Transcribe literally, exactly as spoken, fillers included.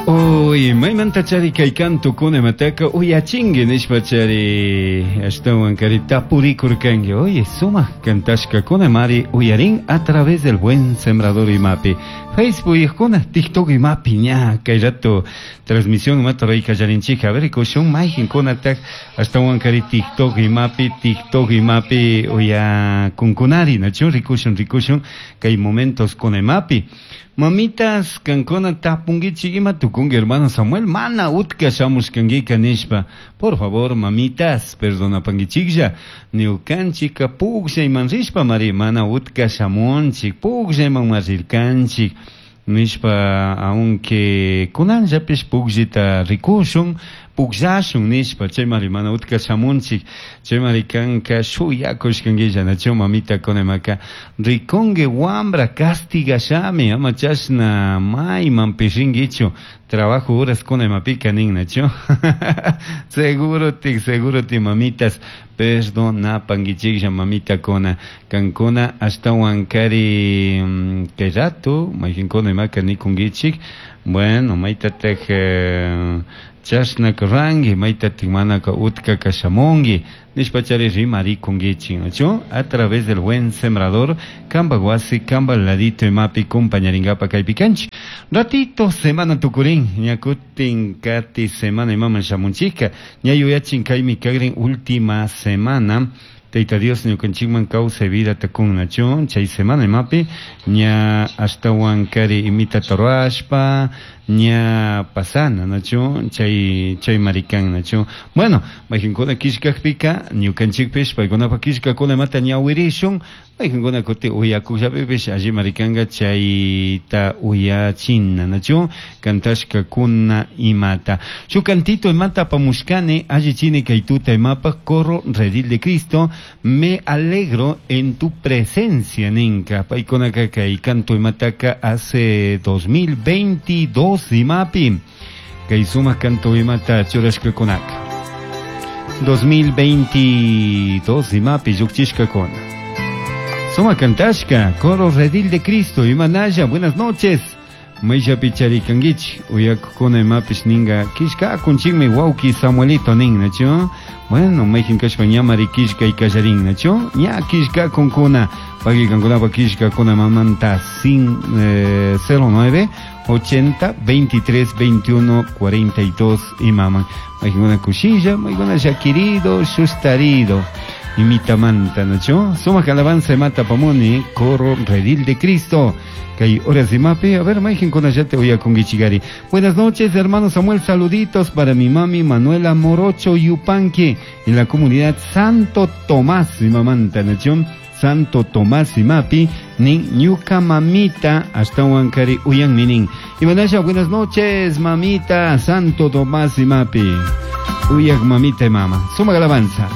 Uy, maymantachari kay kantukuna imataka uyachinki nishpachari ashtawan kari tapurikurkanki. Oye, sumak kantashkakuna mari uyarin a través del Buen Sembrador imapi. Facebook kuna, TikTok imapi ña kay rato transmisión imata ruray kallarinchik. A ver, rikushun mayqinkunatak ashtawan kari TikTok imapi, TikTok imapi uyakunkunari, nachu? Rikushun, rikushun kay momentos kuna imapi. Mamitas kankuna tapunkichik ima tukunki hermano Samuel, mana utka shamushkankika nishpa. Por favor, mamitas, perdonapankichiklla. Ñukanchika pukllayman rishpa mari mana utka shamunchik, pukllayman rirkanchik. Nishpa, aunque kunanllapish pukllita rikushun, pukllashun nishpa, chaymari mana utka shamunchik, chaymari kanka shuyakushkankilla, nachu mamita kunamaka rikunki wambra castigashami, ama chashna maymanpish rinkichu, trabajo horas kunamapika nin, nachu. Seguro tik, seguro ti mamitas, perdonapankichiklla mamita kuna, kankuna ashtawan kari kay rato, mayqinkuna imaka nikunkichik, bueno, maytatak eh, chashnaka ranki, maytatik manaka utkaka shamunki, nishpachari rimarikunkichik, nachu? A través del Buen Sembrador, kamba wasi, kamba ladito imapi compañaringapa kaypi kanchik. Ratito semana tukurin, ña kutin kati semana imaman shamunchika, ña yuyachin kaymi kagrin última semana, Tayta Dios ñukanchikman kawsay vida takun nachu, chay semana imapi, ña ashtawan kari imita ruashpa, ña pasana nachu, chay chay marikan nachu. Bueno, mayqinkuna killkakpika, ñukanchikpish paykunapa killkakuna imata ñawirishun, mayqinkuna kuti uyakuqllapipish alli marikanka chayta uyachina nachu, kantashkakuna imata. Shuk kantito imata apamushkani, allichini kay tuta imapaq, Coro Redil de Cristo, me alegro en tu presencia, ninka. Paykunaka kay canto imataka hace dos mil veintidós imapi. Kay sumak canto imata churashkakunaka. dos mil veintidós imapi llukchishkakuna. Suma kantashka, Coro Redil de Cristo, imanaya, buenas noches. Mayllapi charikankichik, uyakukuna imapish ninka, killkakunchikmi wawki Samuelito nin, nachu? Bueno, mayqin kashpa ñamari killkay kallarin, nachu? Ña killkakunkuna, pakikankunapa killkakuna mamanta sin, eh, cero nueve, ochenta, veintitrés, veintiuno, cuarenta y dos imaman. Mayqinkuna kushilla, mayqinkuna llakirido, sustarido. Imitamanta, nachu? Sumak alabanza imata pamuni, Coro Redil de Cristo. Kay horas de mape, a ver, mayqinkunallata uyakunkichikari. Buenas noches, hermano Samuel, saluditos para mi mami Manuela Morocho Yupanqui en la comunidad Santo Tomás, mi mamanta, nachu? Santo Tomás imapi, nin ñuka mamita, hasta huancari uyan minin. Y manasha, buenas noches, mamita, Santo Tomás imapi. Uyak mamita y mama. Suma alabanza.